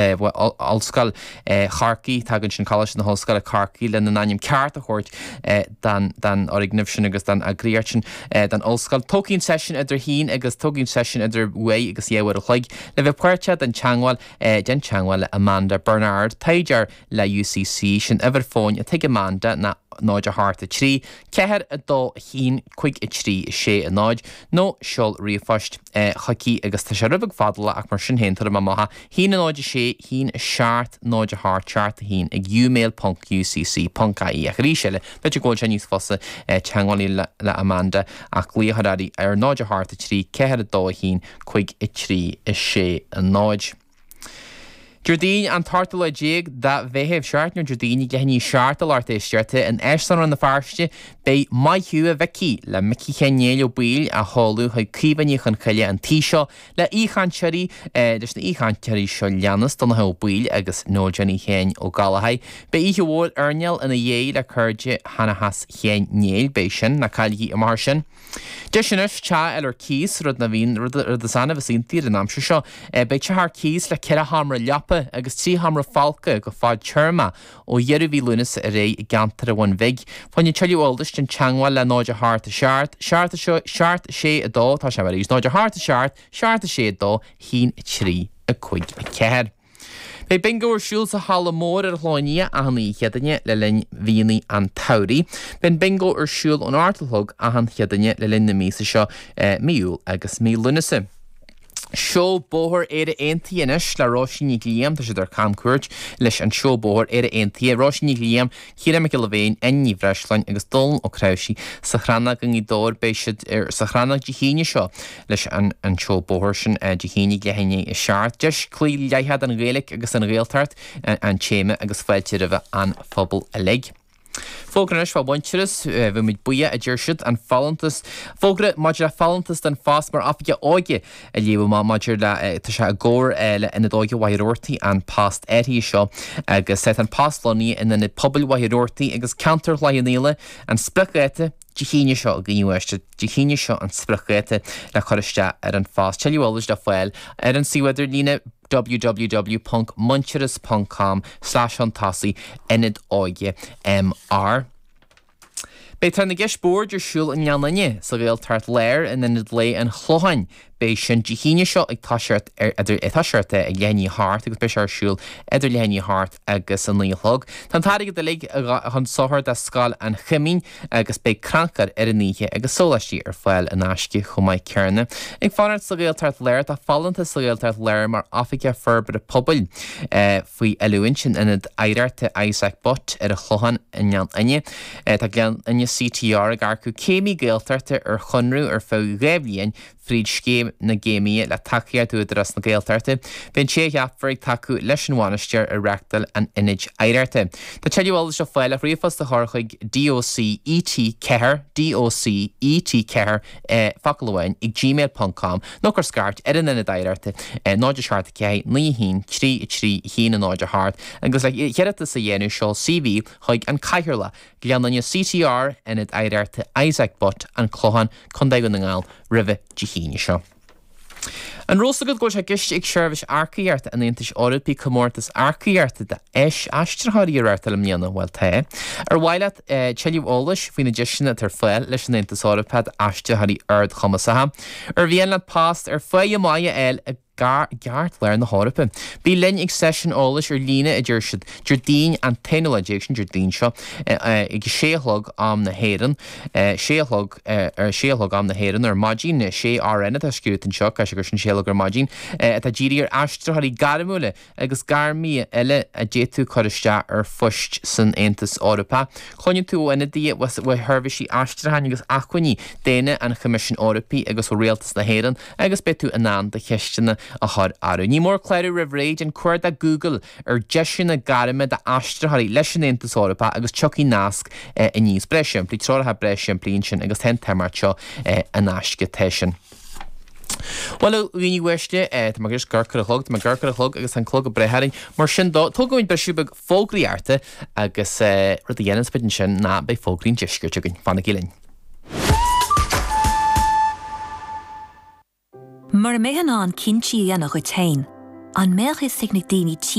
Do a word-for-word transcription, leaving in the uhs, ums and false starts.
Ollscoil Chorcaí, tagann sin Coláiste na hOllscoile Corcaigh lena n-ainm ceart a thabhairt don fhoirgneamh sin agus don eagraíocht sin don ollscoil. Tógfaidh an seisiún idir haon agus tógfaidh an seisiún idir uair agus dhá uair a chloig le bheith páirteach den teagmháil déan teagmháil le Amanda Bernard, taighdeoir le UCC, sin uimhir fóin atá ag Amanda ná náid a hocht a trí, ceathair a dó a haon, cúig a trí, a sé a náid, nó seol ríomhphost chuici agus tá sé rud beag fada ach mar sin féin tabharfaidh mé amach é, haon a náid a sé, haon a seacht, náid a hocht, seacht a haon ag umail ponc ucc ponc ie. Ach arís eile, b'fhéidir go bhfuil sé níos fusa teagmháil le le Amanda ach glaoch ar uirthi ar náid a hocht a trí, ceathair a dó a haon, cúig a trí, a sé a náid. Déardaoin an t-ochtú lá déag de Mheitheamh, seacht nó Déardaoin ag leath i ndiaidh a seacht a lucht éisteachta in Áislann Rann na Feirste beidh Maith Thú a Mhicí le Micí Sheáin Néill Ó Baoill á sheoladh chuig Caoimhe Ní Chonchoille an tí seo le aoichainteoirí leis na aoichainteoirí seo leanas, Donncha Ó Baoill agus Noel Johnny Sheáin Ó Gallchóir. Beidh oíche mhór airneáil ina dhiaidh le cairde Sheanchas Sheáin Néill, beidh sin, ná cailligí amach air sin. Deis anois teach a fháil ar cíos, rud nach bhíonn, rud rud is annamh is iontaí ar an aimsir seo. Beidh teach ar cíos le ceithre sheomra leapa agus trí sheomra folctha go fadtéarmach ó dheireadh mhí Lúnasa ar aghaidh i gceantar an Bhun Bhig. Fá choinne tuilleadh eolais déan teagmháil le náid a hocht a seacht, seacht a sé, seacht a sé a dó, tá sé arís, náid a hocht a seacht, seacht a sé a dó, haon a trí, a cúig a ceathair. Beidh Bingo ar siúl sa Halla Mór ar an Chlochán Liath achan oíche Chéadaoine le linn mhíonna an tsamhraidh. Beidh an Bingo ar siúl ón ocht a chlog achan Chéadaoine le linn na míosa seo, mí Iúil agus mí Lúnasa. Seó Bóthair Éire Aontaithe anois le Róisín Nic Liam, tá siad ar camchuairt leis an seó bóthair Éire Aontaithe. Róisín Nic Liam, Ciarán Mac Giolla Bhéin, Áine Ní Bhreisleáin agus Dónal Ó Cnáimhsí sa Chrannóg i nGaoth Dobhair. Beidh siad sa Chrannóg Dé hAoine seo leis an an seó bóthair sin Dé hAoine ag leath i ndiaidh a seacht. Deis cluiche leathadh don Ghaeilge agus don Ghaeltacht an téama agus fáilte roimhe an phobal uilig. Fógra anois fá Mhuintearas, bheadh muid buíoch, a deir siad, an folúntas. Fógra maidir le folúntas don phost mar Oifigeach Óige a léamh amach maidir le, tá sé i gcomhar le Ionad Óige Mhachaire Rabhartaigh an post áirithe seo agus tá an post lonnaithe in Ionad Pobail Mhachaire Rabhartaigh agus ceantar Chloich Cheann Fhaola, an spriocdháta Dé hAoine seo, a dhaoine uaisle, Dé hAoine seo an spriocdháta le cur isteach ar an phost. Tuilleadh eolais le fáil ar an suíomh idirlíne www ponc muintearas ponc com slash chun tosaigh Ionad Óige MR. Beidh Tráth na gCeist Boird ar siúl i nGleann Fhinne, sa Ghaeltacht Láir, in Ionad Lae an Chlocháin. Beidh sin Dé hAoine seo ag toiseacht ar idir ag toiseacht ag leath i ndiaidh a hocht agus beidh sé ar siúl idir leath i ndiaidh a hocht agus a naoi a chlog. Tá an t-airgead uilig chun sochair do Scoil an Choimín agus beidh crannchur ar an oíche agus sóláistí ar fáil in aisce chomh maith céanna. Ag fanacht sa Ghaeltacht Láir tá folúntas sa Ghaeltacht Láir mar Oifigeach Forbartha Pobail faoi oiliúint in Ionad Oidhreachta Isaac Butt ar an Chlochán i nGleann Fhinne. Tá Gleann Fhinne CTR ag earcú céimí Gaeltachta ar chonradh ar feadh dhá bhliain fríd Scéim na gCéimithe le tacaíocht Údarás na Gaeltachta. Beidh an té a cheapfar ag tacú leis an bhainisteoir ar reáchtáil an Ionaid Oidhreachta. Tá tuilleadh eolais le fáil ach ríomhphost a chur chuig DOCET ceathair, DOCET ceathair, focal amháin, ag gmail ponc com nó cuir scairt ar an Ionad Oidhreachta, náid a seacht a ceathair, naoi a haon, trí a trí, a haon a náid a hocht agus le hiarratas a dhéanamh seol CV chuig an Cathaoirleach, Gleann Fhinne CTR, Ionad Oidhreachta Isaac Butt, An Clochán, Contae Dhún na nGall, roimhe Dé hAoine seo. An raibh fhios agat go bhfuil sé i gceist ag Seirbhís Earcaíochta an Aontais Eorpaigh comórtas earcaíochta d'aistritheoirí a reáchtáil i mbliana? Bhuel tá. Ar mhaith leat tuilleadh eolais faoi na deiseanna atá ar fáil leis an Aontas Eorpach d'aistritheoirí ardchumasacha? Ar mhian leat post ar pháighe maith a fháil i gceartlár na hEorpa. Bí linn ag seisiún eolais ar líne, a deir siad, Déardaoin an t-aonú lá déag, sin Déardaoin seo, ag a sé a chlog am na hÉireann, sé a chlog, ar sé a chlog am na hÉireann ar maidin, sé RN atá scríofa anseo, caithfidh sé gur sin sé a chlog ar maidin, atá dírithe ar aistritheoirí gairmiúla agus gairmithe eile a d'fhéadfadh cur isteach ar phoist san Aontas Eorpach. Cluinfidh tú ó ionadaithe ó sheirbhísí aistriúcháin agus acmhainní daonna an Choimisiúin Eorpaigh agus ó Rialtas na hÉireann agus beidh tú in ann do cheisteanna a chur orthu. Ní mór clárú roimh ré, déan cuardach Google ar 'deiseanna gairme d'aistritheoirí leis an Aontas Eorpach' agus tiocfaidh nasc aníos. Breá simplí, treoracha breá simplí ansin agus tá an t-imeacht seo in aisce, tá sin. Bhuel, a dhaoine uaisle, tá mé ag amharc ar an chlog, tá mé ag amharc ar an chlog agus tá an clog ag breith orainn. Mar sin dó, tógfaimid briseadh beag fógraíochta agus rud a dhéanfas muid ansin ná beidh fógraí an deiscirt againn. Fanaigí linn. Mura mbeidh in ann cinntí a dhéanamh dhuit féin, An mbeadh fhios ag na daoine